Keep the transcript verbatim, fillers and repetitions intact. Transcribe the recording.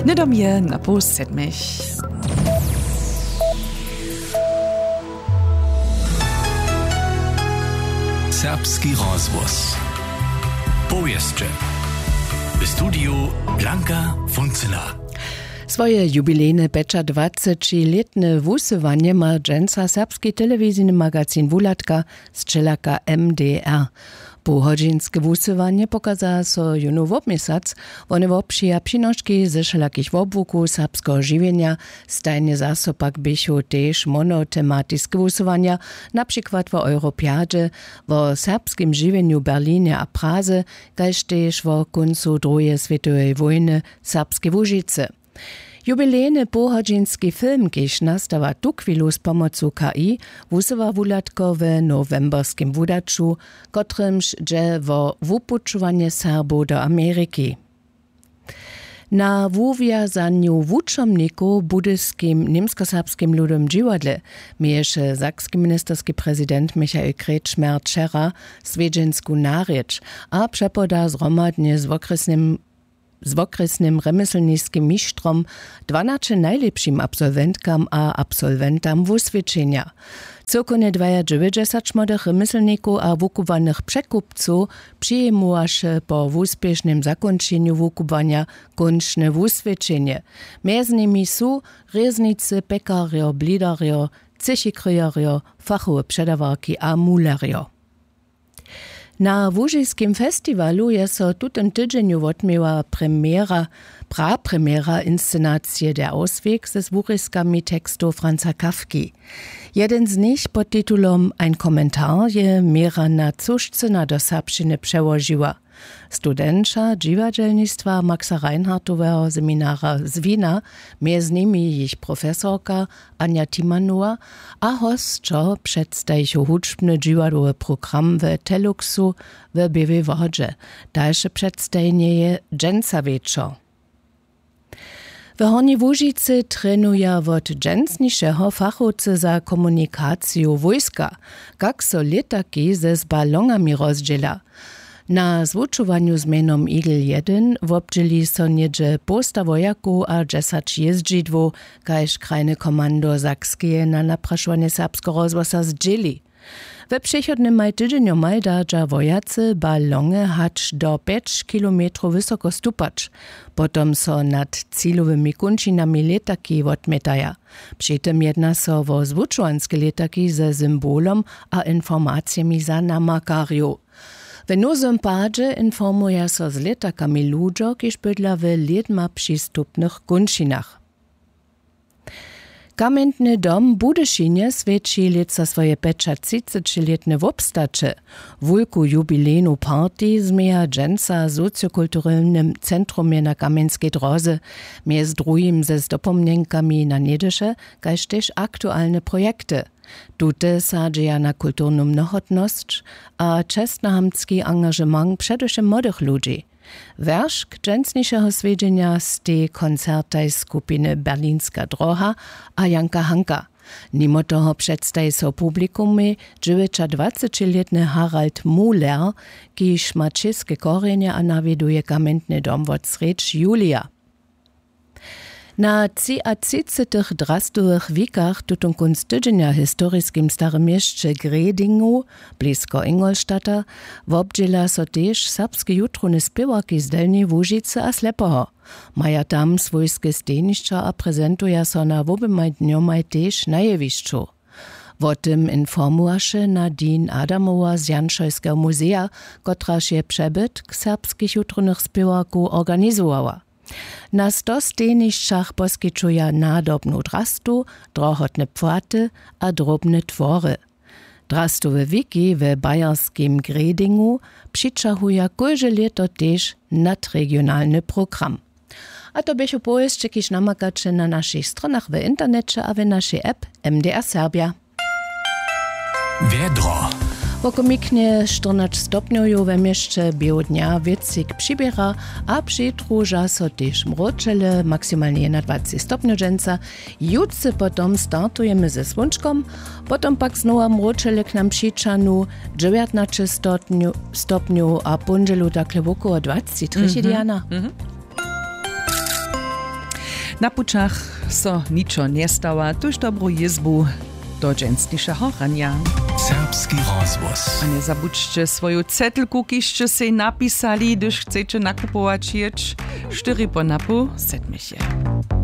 Hnydom je na poł sedmich. Serbski rozhłos. Powěsće. W studiju Blanka Funcyna. Swoje jubilejne pjećadwacećilětne wusyłanje ma dźensa serbski telewizijny magazin Wuhladka z čelaka M D R. Połhodźinske wusyłanje pokaza so jónu wobměsac. Wone wobpřija přinoški ze wšelakich wobłukow serbskeho žiwjenja. Stajnje zaso pak běchu tež monotematiske wusyłanja, na přikład wo Europjadźe, wo serbskim žiwjenju w Berlinje a Praze, kaž tež wo kóncu druheje swětoweje wójny w Serbskej Łužicy. Jubilejny połhodźinski film, kiž nastawa tuchwilu z pomocu K I, wusyła Wuhladko w nowemberskim wudaću, kotrymž dźe wo wupućowanje Serbow do Ameriki. Na wuwjazanju wučomnikow w budyskim němskoserbskim ludowym dźiwadle měješe sakski ministerski prezident Michael Kretschmer wčera swjedźensku narěč a přepoda zhromadnje z wokrjesnym z wokrjesnym rjemjeslniskim mištrom, dwanaće najlěpšim absolwentkam a absolwentam wuswědčenja. Cyłkownje dwajadźewjećdźesat młodych rjemjeslnikow a wukubłanych překupcow přijimowaše po wuspěšnym zakónčenju wukubłanja kónčne wuswědčenje. Mjez nimi su rěznicy, pjekarjo, blidarjo, třěchikryjerjo, fachowe předawarki a mulerjo. Na łužiskim festiwalu je so w tutym tydźenju wotměła premjera, prapremjera inscenacije Der Ausweg z wurězkami tekstow Franza Kafki. Jeden z nich pod titulom Ein Kommentar je měra na Cušcyna do serbšćiny přełožiła. Studenća dźiwadźelnistwa Maxa Reinhardtoweho seminara z Wina, mjez nimi jich profesorka Anja Timanowa a hosćo předstajichu hudźbny dźiwadłowy program w Teluxu w Běłej Wodźe. Dalše předstajenje je dźensa wječor. W Hornjej Łužicy trenuja wot dźensnišeho fachowcy za komunikaciju wójska, kak so lětaki z balonami rozdźěla. Na zwučowanju z mjenom Eagle jedyn wobdźěli so něhdźe połsta wojakow a dźesać jězdźidłow, kaž krajne komando Sakskeje na naprašowanje Serbskeho rozhłosa zdźěli. We přechodnymaj tydźenjomaj da dźa wojacy balonje hač do pjeć kilometrow wysoko stupać. Potom so nad cilowymi kónčinami lětaki wotmjetaja. Při tym jedna so wo zwučowanske lětaki ze symbolom a informacijemi za namakarjow. W nowym padźe informuja so z lětakami ludźo, kiž bydla w lědma přistupnych kónčinach. Kamjentny dom w Budyšinje swjeći lětsa swoje pjećatřicećilětne wobstaće. Wulku jubilejnu party změja dźensa w sociokulturelnym centrumje na Kamjenskej dróze, mjez druhim ze zdopomnjenkami na něhdyše, kaž tež aktualne projekty. Tute sadźeja na kulturnu mnohotnosć a čestnohamtski angažement předewšěm młodych ludźi. Wjeršk dźensnišeho swjedźenja stej koncertaj skupiny Berlinska droha a Janka Hanka. Nimo toho předstaji so publikumej dźewjećadwacećilětny Harald Muhler, kiž ma česke korjenje a nawjeduje kamjentny dom wot srjedź julija. Na třiatřicetych drastowych wikach tutón kónc tydźenja w historiskim starym měsće Gredingu, blisko Ingolstadta, wobdźěla so tež serbske jutrowne spěwarki z Delnjeje Łužicy a Slepoho. Maja tam swójske stejnišća a prezentuja so na woběmaj dnjomaj tež na jewišću. Wo tym informowaše Nadine Adamowa z Janšojskeho muzeja, kotraž je přebytk serbskich jutrownych spěwarkow organizowała. Na sto stejnišćach poskićuja nadobnu drastu, drohotne płaty a drobne twory. Drastowe wiki we bayerskim Gredingu přićahuja kóžde lěto tež nadregionalny program. A to běchu powěsće, kiž namakaće na našich stronach w interneće a w našej app M D R Serbja. Wjedro. Wokomiknje štyrnaće stopnjow we měsće běhu dnja wětřik přiběra a přidruža so tež mróčele, maksimalnje jednadwaceći stopnjow dźensa. Jutře potom startujemy ze słónčkom, potom pak znowa mróčele k nam přićahnu, dźewjatnaće stopnjow, stopnjow a póndźelu takle wokoło dwaceći třěchi. Mhm. Diana. Mhm. Na pućach so ničo njestawa, tuž dobru jězbu do dźensnišeho ranja. Serbski rozhłos. A njezabudźće swoju cetlku, kiž sće sej napisali, hdyž chceće nakupować jěć. Štyri po napoł sedmich je.